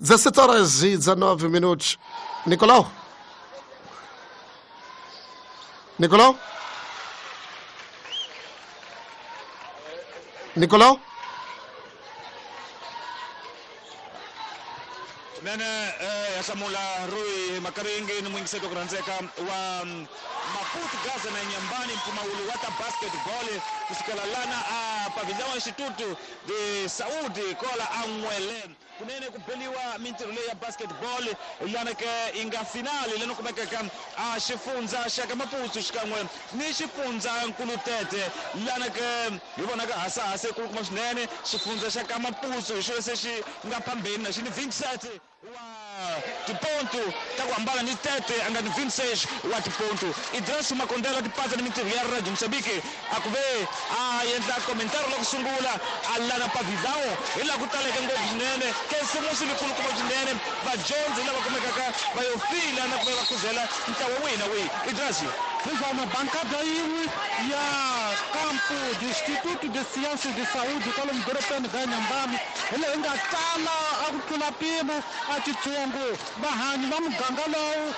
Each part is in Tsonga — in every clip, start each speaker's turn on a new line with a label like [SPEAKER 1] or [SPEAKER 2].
[SPEAKER 1] 17 horas e 19 minutos. Nicolau? Nicolau? Nicolau?
[SPEAKER 2] Nene ya hlamula Rui Makaringi ni muyingiseti wa ku rhandzeka wa Maputo Gaza na Nyambani mpfumawulo wa ta basketball kusukela lana a Pavilhão Instituto de Saúde kola a N'wele kunene ku beliwa mintirho leyi ya basketball lana ke yi nga finali leni kumekaka a xifundza xa ka Maputo xikan'we ni xifundza Nkulutete lana ke hi vonaka hasahasa yikulukumba swinene xifundza xa ka Maputo hi xona se xi nga phambeni na xi ni 27 wa tipontu ta ku hambana ni Tete a nga ni 26 wa tipontu. Idris Makondela tipatsa ni mintirho ya Radio Mozambique a ku ve a endla komentari la ku sungula a lana Pavilhão hi laha ku taleke ngopfu swinene khisimusi likulukumba swinene vadyondzi lava kumekaka va yo fila na ku ve va khuzela ntlawa wihi na wihi. Idris.
[SPEAKER 3] Hiswona bankada yin'we ya Campo de Instituto de Ciências de Saúde kwalomu dorobeni ra Inhambane hi leyi nga tala a ku tlula mpimo a titshungu. Vahanyi va muganga lowu,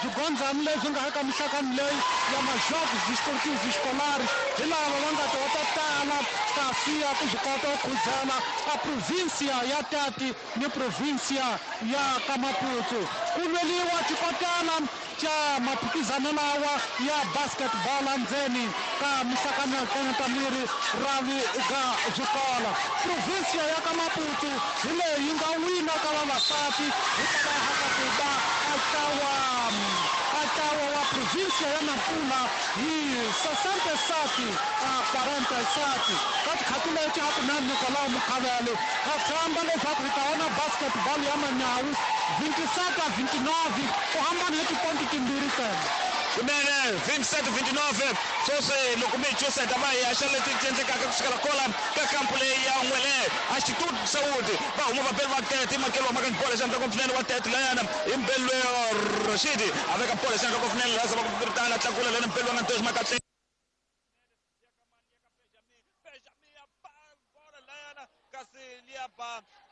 [SPEAKER 3] swigondzani leswi nga eka mihlakani leyi ya ma-Jogos Desportivos Escolares hi lava va nga ta va ta tala kasi ya ku swi kota ku khuzela a província ya Tete ni província ya ka Maputo. Ku lweliwa xikotela xa maphikizano lawa ya basketball endzeni ka mihlakanyakanyeta-miri rhavi ra swikolo. Província ya ka Maputo hi leyi yi nga wina ka vavasati hikwalaho ka ku va a ntlawa a ntlawa wa província ya Nampula hi 67 a 47 ka tikhathi leti a ku na Nicolau Mukhavele. Ha tshemba leswaku hi ta vona basketball ya manyawu 27 a 29 ku hambana hi tiponti timbirhi ntsena.
[SPEAKER 2] Kunene 27 29 sweswi loko mi hi chusa hi ta va hi haxa leti ti endlekaka kusukela kola ka kampu leyi ya N'wele a Instituto de Saúde va huma vabeli va Tete makelo wa maka ni bola xandla ngopfu wa Tete layana hi mbeli Rashidi a veka bola xandla ngopfu laha zama ku viritana tlakula lena mbeli wa nga ntoxi makatle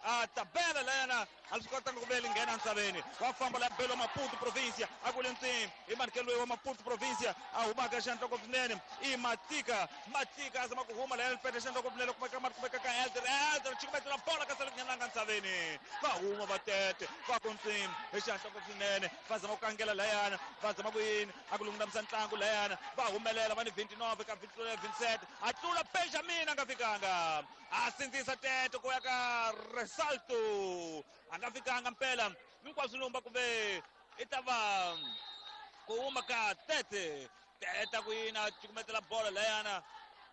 [SPEAKER 2] a tabela layana a swi kotanga ku vele nghena entshaveni wa famba la belo Maputo província a ku le ntsini i manikelo wa Maputo província a humaka xandloko swinene i Matika Matika a zama ku huma layana pete xandloko swinene kumeka kumeka ka Elder Elder chikumetela bola ka sale ngenanga ntshaveni va huma va Tete va ku ntsini hi xandloko swinene va zama ku kangela layana va zama ku yini a ku lungamisa ntlangu layana va humelela va ni 29 ka 27 a tlula Benjamin a nga fikanga a sindzisa Tete ku ya ka Resalto a nga fikanga mpela hinkwaswo lumba kumbe i ta va ku huma ka Tete Tete ku yina cukumetela bola layana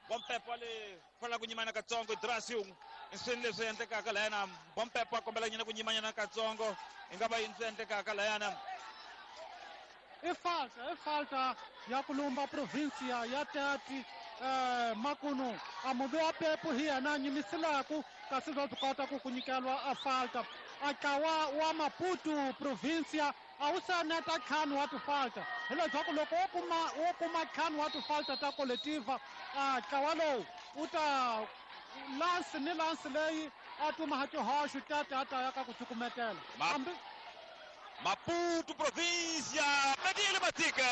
[SPEAKER 2] Bompepo le fanela ku nyimana katsongo Idrasiu i swini leswi endlekaka layana Bompepo a kombela nyina ku nyimanyana katsongo i nga va yini swi endlekaka layana
[SPEAKER 3] i falta ya ku lumba província ya Tete makunu a muvi wa pepu hi yena a nyimisilaku kasi bya swi kota ku ku nyikelwa a falta a ntlawa wa Maputo província a wu se neta ntlhanu wa tifalta hileswaku loko wo kuma ntlhanu wa tifalta ta koletiva a ntlawa lowu wu ta lansi ni lansi leyi a tuma tihoxo Tete a ta ya ka ku cukumetela hambi
[SPEAKER 2] Maputo província Medile Matika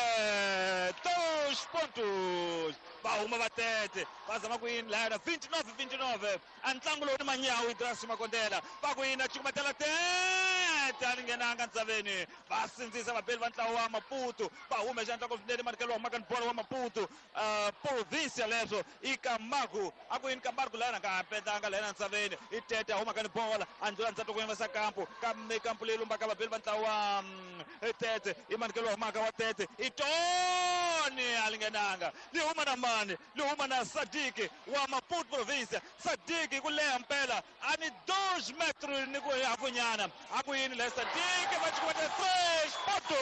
[SPEAKER 2] 2 pontos va huma va Tete va zama ku yini layana 29 29 a ntlangu lowu ni manyawu Idris Makondela va ku yini a cukumetela Tete a ni nghenanga ntsaveni va sindzisa vabeli va ntlawa wa Maputo va hume xandla swinene manikelo wa humaka ni bola wa Maputo província leswo i Camargo a ku yini Camargo layana nga petanga layana ntsaveni i Tete a humaka ni bola a ndlula ndzhaku ku yimisa kampu kampu leyi lumbaka vabeli va ntlawa wa Tete i manikelo wa humaka wa Tete i Tony a li nghenanga li huma na mani li huma na Sadiki wa Maputo província Sadiki ku leha mpela a ni 2 metros ni ku hafunyana a ku yini le Sadiki va cukumeta 3 ponto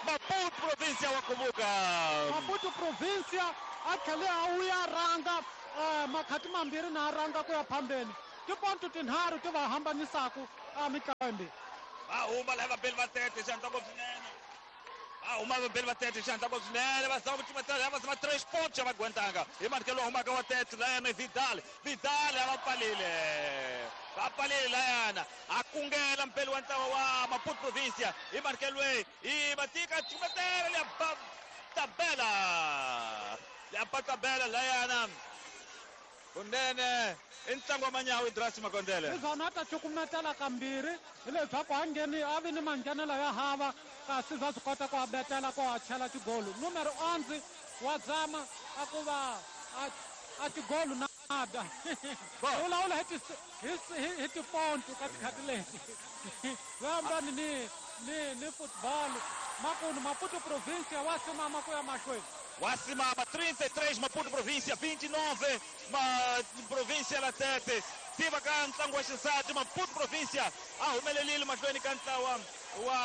[SPEAKER 2] Maputo província wa kuvuka
[SPEAKER 3] Maputo província a tlhele a wuya rhanga makhati mambirhi na a rhanga ku ya phambeni tiponto tinharhu ti va hambanisaku a mitlawa yimbirhi
[SPEAKER 2] va huma laha vabeli va Tete xandla ngopfu swinene A huma vabeli va tete xandla ko swinene va zama ku cumetela va zama 3 pontos va gwentanga hi manikelo wa humaka wa tete layana Vidal Vidal a va pfalile layana a kungela mpeli wa ntlawa wa Maputo Provincia hi manikelo loyi i matika cumetela leya tabela leya tabela layana kunene i ntlangu wa manyawu Idrasi Makondele
[SPEAKER 3] izona ta cukumetela kambirhi hileswaku a ngheni a vi ni manghenelo ya hava kasi bya swi kota ku a betela ku a chela tigolu numero 11 wa zama a ku va a tigolu nada vulavula hi tiponto ka tikhati leti vambani ni football makunu Maputo Província wa simama ku ya mahlweni.
[SPEAKER 2] Wasimama 33 Maputo Província 29 Província la Tete tiva ka ntlangu wa xisati Maputo Província a humelelile mahlweni ka ntlawa wa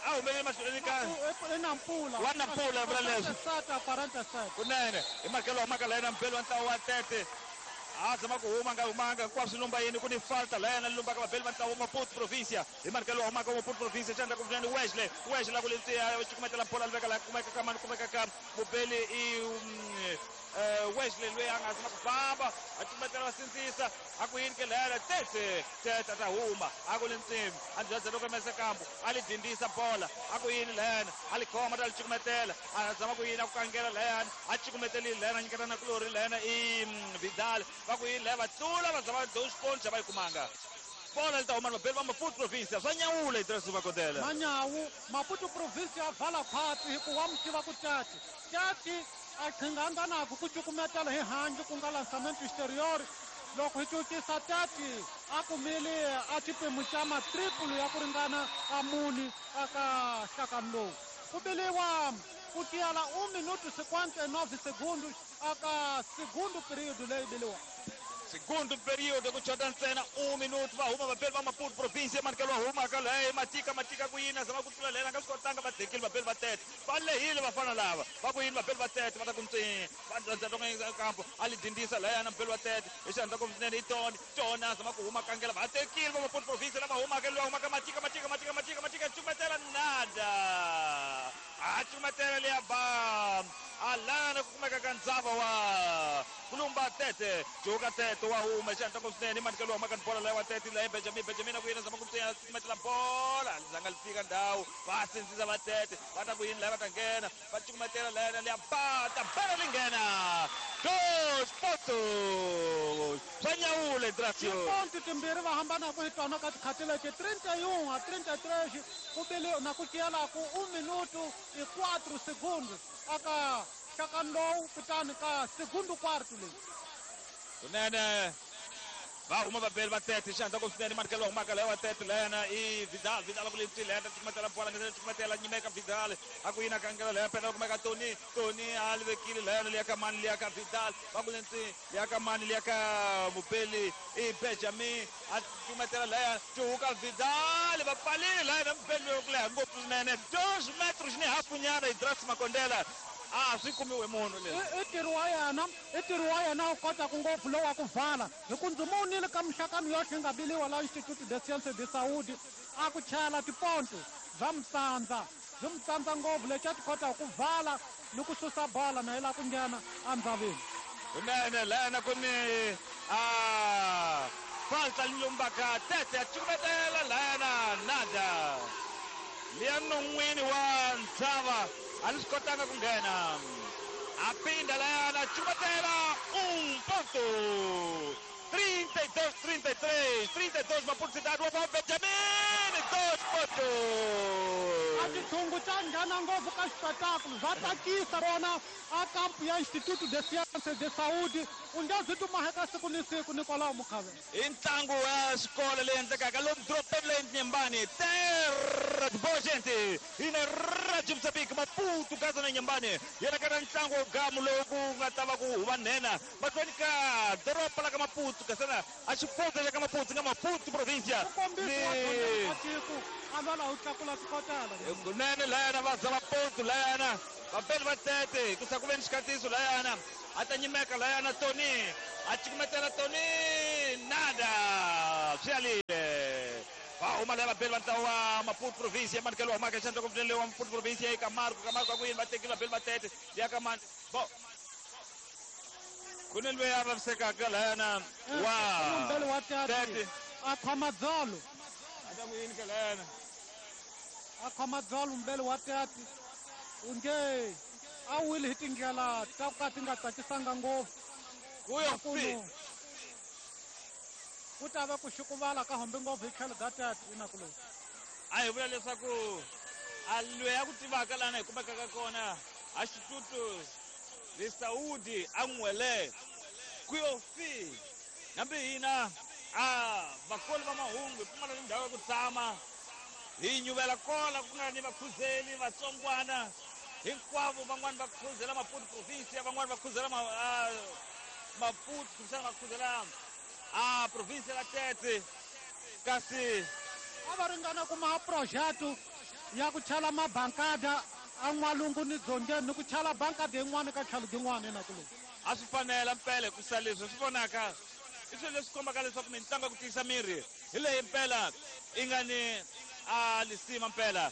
[SPEAKER 2] a humelele mahlweni ka
[SPEAKER 3] Nampula
[SPEAKER 2] wa Nampula vula leswi
[SPEAKER 3] 47
[SPEAKER 2] kunene hi makelo wa maka layena mpelo wa ntlawa wa Tete a zama ku huma nga humanga hinkwaswo lumba yini ku ni falta layena lumbaka vabeli va ntlawa wa Maputo Província hi manikelo wa humaka wa Maputo Província xandla ku vunene Wesley Wesley ku letiya cukumetela bola li veka laha kumeka ka mani kumeka ka mubeli i Wesley loyi a nga zama ku famba a cukumetela va sindzisa a ku yini ke layena Tete Tete a ta huma a ku li nsimbi a ndzhadza loko mese kambu a li dindisa bola a ku yini layena a li khoma ta li cukumetela a zama ku yini a ku kangela layena a cukumetelile layena a nyiketa na kulori layena i Vidal va ku yini laya va tlula va zama 2 pontos va yi kumanga bola li ta huma vabeli va Maputo Província swa nyawula Idrasi Makondele
[SPEAKER 3] manyawu Maputo Província a vala khwatsi hikuva mi tiva ku Tete Tete a qhinganga naku ku cukumetela hi handle ku nga lançamento exterior loko hi cukisa Tete a kumile a xipemu xa matriple ya ku ringana a muni aka nhlakani lowu ku biliwa ku tiyela 1 minuto 59 segundos aka segundo período leyi biliwa
[SPEAKER 2] segundo período ku chota ntsena 1 minuto va huma vabeli va Maputo Província manikelo wa huma ka leyi matika matika ku yini zama ku tlula lena nga swi kotanga va dekile vabeli va Tete va lehile vafana lava va ku yini vabeli va Tete va ta ku ntsini va ndzandza kampo a li dindisa layana mubeli wa Tete hi xandla ku swinene i Tony Tony a zama ku huma kangela va tekile va Maputo Província lava humaka loyi humaka matika matika matika matika matika cukumetela nada a cukumetela leya ba alana ku kumeka ka ndzava wa kulumba Tete juka Tete wa huma xandla ku swinene manikelo wa maka bola leyi wa Tete leyi Benjamin Benjamin ku yini zama ku ntsina cukumetela bola zanga li fika ndhawu va sindzisa va Tete va ta ku yini leyi va ta nghena va cukumetela lena leya ba ta bela li nghena 2 pontos swa nyawula Idrasio
[SPEAKER 3] tiponto timbirhi va hambanaka hi tona ka tikhati leti 31 a 33 ku bili na ku tiyelaku 1 minuto i 4 segundos aka nhlakani lowu kutani ka segundo quarto leyi
[SPEAKER 2] kunene va huma vabeli va Tete xandla ku swinene manikelo wa humaka leyi wa Tete lena i Vidal Vidal ku leti lena cukumetela bola ngesele cukumetela nyimeka Vidal a ku yina kangela leya pena kumeka Tony Tony a li vekile lena liya ka mani liya ka Vidal va ku leti liya ka mani liya ka mubeli i Benjamin a cukumetela leya cuhuka Vidal va pfalile lena mubeli loyi ku leha ngopfu swinene 2 metros ni hafu nyana Idrasi Makondela a swi kumiwe munhu leswi
[SPEAKER 3] i ntirho wa yena i ntirho wa yena wu kotaka ngopfu lowu wa ku vala hi ku ndzi mowunile ka mixakano yohle yi nga biliwa la Instituto de Sciences de Saúde a ku chela tiponto bya mutsandza byi mutsandza ngopfu lexi a ti kotaka ku vala ni ku susa bola na yi lava ku nghena endzaveni
[SPEAKER 2] kunene lena ku ni a falta lumbaka Tete a cukumetela lena nada liya non'wini wa ndzava a li swi kotanga ku nghena a pinda layana cukumetela 1 ponto 32 33 32 Maputo Cidade wa Benjamin 2 pontos
[SPEAKER 3] a xitshungu xa nghena ngopfu ka xipetakulo bya tsakisa vona a kampu ya Instituto de Sciences de Saúde u nge byi tumaheka siku ni siku Nicolau Mukhavela
[SPEAKER 2] i ntlangu wa xikolo leyi endlekaka lomu dorobeni leyi Nyembani terra de boa gente ina Radio Moçambique Maputo Gaza na Nyembani yena ka ntlangu wa gamu lowu ku nga ta va ku huva nhenha mahlweni ka doroba la ka Maputo kasana a xifundza xa ka Maputo nga Maputo Província
[SPEAKER 3] ni tiko a lwela u tlakula swikotela
[SPEAKER 2] kunene layana va zama ponto layana vabeli va Tete ku sa ku ve ni xikandziyiso layana a ta nyimeka layana Tony a cukumetela Tony nada swi alile Va huma lava vabeli va ntlawa wa Maputo province ya manikelo wa humaka xandla ku wa Maputo province ya Camargo. Camargo ku yini va tekile vabeli va tete ya ka mani bo ku ni loyi a vavisekaka layana wa
[SPEAKER 3] mbele wa tete a khoma dzolo
[SPEAKER 2] a ta ku yini ka layana
[SPEAKER 3] a khoma dzolo mbele wa tete unge a wile hi tindlela ta ku ka ti nga tsakisanga ngopfu
[SPEAKER 2] kuyo fi
[SPEAKER 3] ku ta va ku xukuvala ka hombe ngopfu hi tlhelo ga tete inaku loyi
[SPEAKER 2] a hi vula leswaku a loyi a ku tivaka lana hi kumekaka kona a xitutu de saúde a n'wele ku yo fi nambi hina a vakoli va mahungu hi pfumala ni ndhawu ya ku tshama hi nyuvela kola ku nga ni vakhuzeli vatsongwana hinkwavo van'wani va khuzela Maputo province van'wani va khuzela Maputo kumbexana va khuzela a province la Tete kasi
[SPEAKER 3] a va ringana kuma projeto ya ku chala mabankada a n'walungu ni dzongeni ni ku chala bankada yin'wana ka tlhelo gin'wana inaku loyi
[SPEAKER 2] a swi fanela mpela hikusa leswi swi vonaka i swilo leswi kombaka leswaku mitlangu ya ku tiyisa miri hi leyi mpela yi nga ni a lisima mpela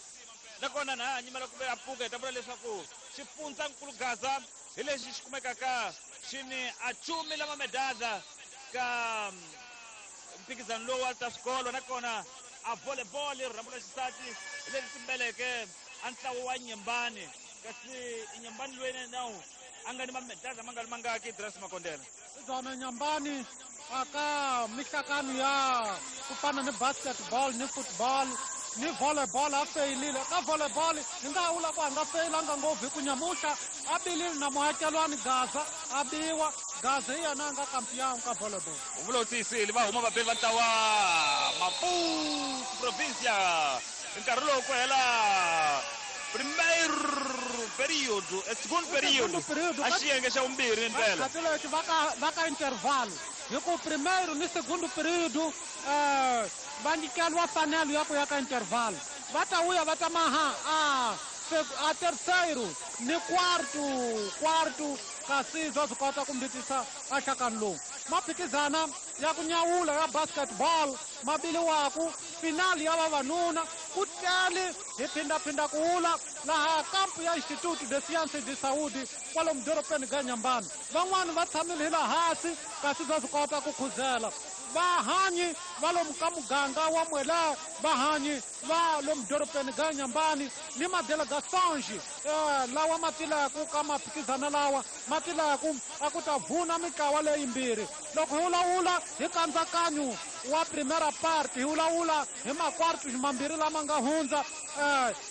[SPEAKER 2] nakona na ha nyimela ku ve a pfuka hi ta vula leswaku xifundzankulu Gaza hi lexi xi kumekaka xi ni a chumi lama medada ka mphikizano lowu wa ta swikolo nakona a volleyball rhambu la xisati hi leri timbeleke a ntlawa wa Nyembani kasi Nyembani loyi nawu a nga ni mamedada ma nga ri mangaki Dress Makondela
[SPEAKER 3] byona Nyembani aka mihlakano ya ku fana ni basketball ni football ni volleyball a feyilile ka volleyball hi nga vula ku a nga feyilanga ngopfu hi ku nyamuhla a bilile na muakelwani Gaza a biwa Gaza hi yena a nga kampiyangu ka volleyball
[SPEAKER 2] u vula u tiyisile va huma vabeli va ntlawa Maputo provincia nkarhi lowu ku hela primeiro período segundo período a xiyenge xa vumbirhi mpela
[SPEAKER 3] leti va ka intervalo hi ku primeiro ni segundo período va nyikeliwa fanelo ya ku ya ka intervalo va ta vuya va ta maha a terceiro ni quarto kasi bya swi kota ku mbitisa a nhlakano lowu maphikizana ya ku nyawula ya basketball ma biliwaku finali ya vavanuna ku tele hi phindaphinda ku wula laha kampu ya Instituto de Sciences de Saúde kwalomu dorobeni ga Nyambani van'wani va tshamile hi laha hansi kasi bya swi kota ku khuzela vahanyi va lomu ka muganga wa Mwela vahanyi va lomu dorobeni ga Nyambani ni madelegações lawa ma tilaku ka maphikizana lawa ma tilaku a ku ta vuna mitlawa leyimbirhi loko hi vulavula hi kandzakanyo wa primera parte hi vulavula hi makwartu mambirhi lama nga hundza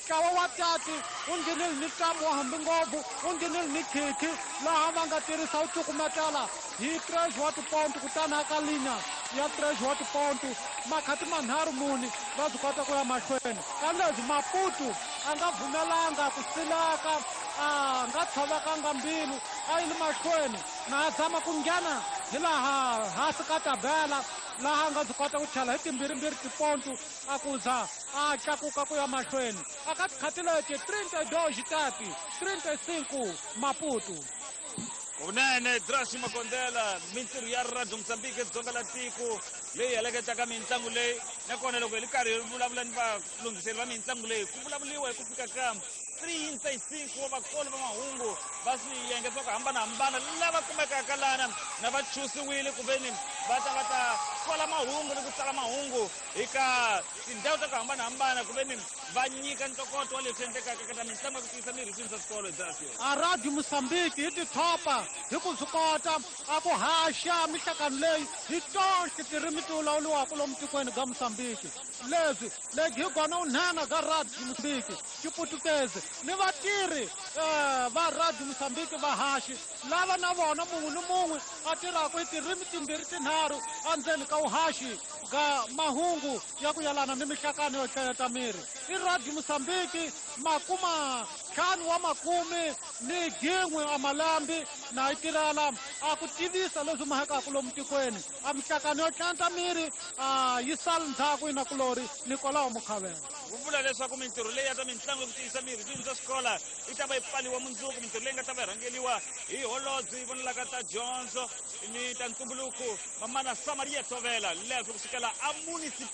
[SPEAKER 3] ntlawa wa tati wu nghenile ni ntamu wa hambi ngopfu wu nghenile ni khikhi laha va nga tirhisa wu cukumetela hi 3 wa tiponto kutani aka linya ya 3 wa tiponto makhati manharhu muni va swi kota ku ya mahlweni ka leswi Maputo a nga pfumelanga ku silaka a nga tshovekanga mbilu a yi le mahlweni na a zama ku nghena hi laha hansi ka tabela laha a nga byi kota ku chala hi timbirhimbirhi tiponto a ku za a tlakuka ku ya mahlweni aka tikhati leti 32 tati 35 Maputo
[SPEAKER 2] Kunene Drasi Makondela mintirho ya Radio Mozambique dzonga la tiko leyi heleketaka mitlangu leyi nakona loko hi ri karhi hi vulavula ni valunghiseri va mitlangu leyi ku vulavuriwa hi ku fika ka 35 wa vakoli va mahungu va swiyenge swa ku hambanahambana lava kumekaka lana na va chusiwile ku veni va ta kola mahungu ni ku tsala mahungu eka tindhawu ta ku hambanahambana ku veni va nyika ntokoto wa leswi endlekaka ka ta mitlangu ya ku tiyisa miri swini swa swikolo Drasi.
[SPEAKER 3] A Radio Mozambique hi tithopa hi ku swi kota a ku haxa mihlakano leyi hi tonke tirimi ti vulavuriwaka lomu tikweni ga Mozambique leswi legi hi kona unhena ga Radio Mozambique xiputukezi ni vatirhi va Radio Mozambique vahaxi lava na vona mun'we ni mun'we a tirhaka hi tirimi timbirhi tinharhu endzeni ka vuhaxi ga mahungu ya ku yelana ni mihlakano yo hlayeta miri i Radio Mozambique makuma ntlhanu wa makume ni gin'we a malambi na yi tirhela a ku tivisa leswi mahekaka lomu tikweni a mihlakano yo tlanta miri a yi sali ndzhaku inakulori Nikolao Mukhavela
[SPEAKER 2] ku vula leswaku mintirho leyi ya ta mitlangu ya ku tiyisa miri swini swa xikola yi ta va yi pfaliwa mundzuku mintirho leyi nga ta va yi rhangeliwa hi holobye yi vonelaka ta dyondzo ni ta ntumbuluko mamana Samaria Tovela leswi ku sukela a municipal